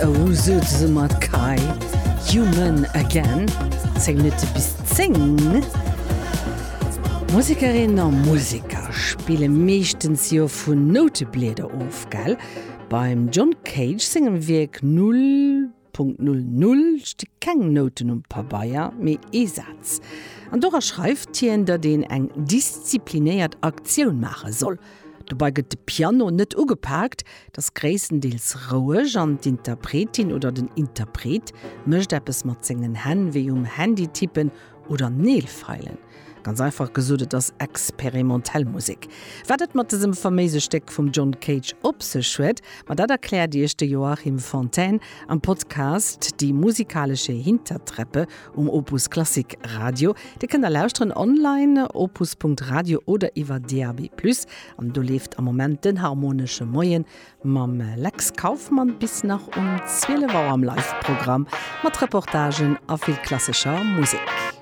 Ouzu zesumme mat Kai, Human Again, 10 Minutte bis 10. Musekerinnen a Museker spille meeschtens jo vun Nouteblieder of, gell? Beim John Cage sengem Wierk 0.00 sti keng Nouten um Pabeier, mee ee Saz. An dora schreift hien, datt een eng disziplinéiert Aktioun maache soll. Dobei gëtt de Piano net ugepaakt, et ass gréisstendeels roueg an d'Interpretin oder den Interpret mécht eppes mat sengen Hänn, wéi um Handy tippen oder Neel feilen. Ganz einfach gesot, et ass experimentell Musek. Wat et mat dësem faméise Stéck vum John Cage op sech huet, ma dat erkläert iech de Joachim Fontaine am Podcast Die musikalische Hintertreppe Um Opus Klassik Radio. Dir kënnt der lauschteren online, opus.radio oder iwwer DAB+. An do leeft am Moment den Harmonesche Moien mam Lex Kauffmann bis nach um 12 Auer am Live-Programm mat Reportagen a vill klassescher Musek.